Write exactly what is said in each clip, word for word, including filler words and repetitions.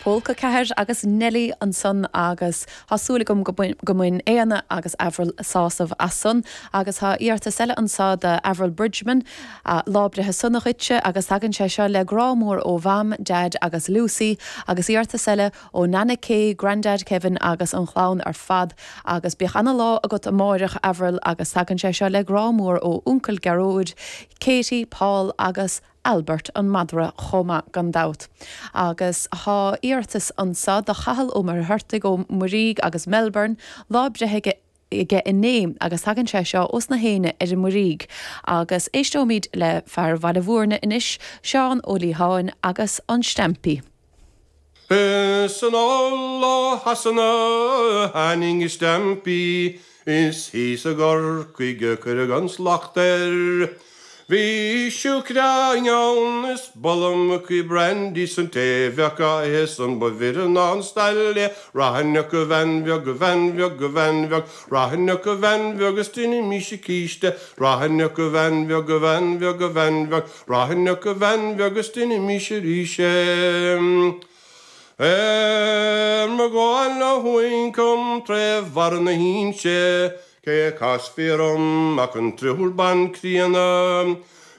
Pólca ceathair agus Nelly ansan agus tá súil agam go mbain Éanna agus Avril sásamh as san agus tá iarratas eile anseo do Avril Bridgman lá breithe sona dhuitse agus tagann sé seo le grá mór ó Mham, Dad agus Lucy agus iarratas eile ó Nana Kay, Grandad Kevin agus an chlann ar fad agus bíodh an-lá agat amárach Avril agus tagann sé seo le grá mór ó Uncail Gearóid, Katie, Paul agus Albert an madra chomh maith gan dabht. Agus tá iarratas anseo do Chathal Ó Muircheartaigh ó Muirígh agus Melbourne lá breithe aige inné agus tagann sé seo ós na héinne ar an Muirígh. Agus éisteoimid le fear Bhaile Mhúirne anois Seán Ó Liatháin agus an Stampy. Is anall ó Shasana tháinig an Stampy is thíos i gCorcaigh a cuireadh an slacht air. Bhí siúcra ann is bollamach brandy 's an té bheadh á ithe san ba mhire ná an stail é Rachainn a bhean bheag a bhean bheag a bhean bheag Rachainn a bhean bheag is déanfaimise císte Rachainn a bhean bheag a bhean bheag a bhean bheag Rachainn a bhean bheag is déanfaimise arís é. Ar mo ghabháil ó thuaidh chun tré bharra na hInse, Cé casfaí orm ach an triúr ban críonna.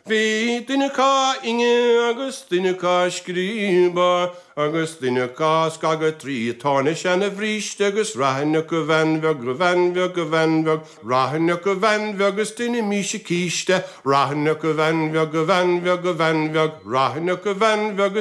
Bhí duine acu á fhuinneadh agus duine acu á scríobadh agus duine acu á scagadh trí thóin a seana bhríste agus rachainn a bhean bheag a bhean bheag a bhean bheag rachainn a bhean bheag is déanfaimise císte rachainn a bhean bheag a bhean bheag a bhean bheag rachainn a bhean bheag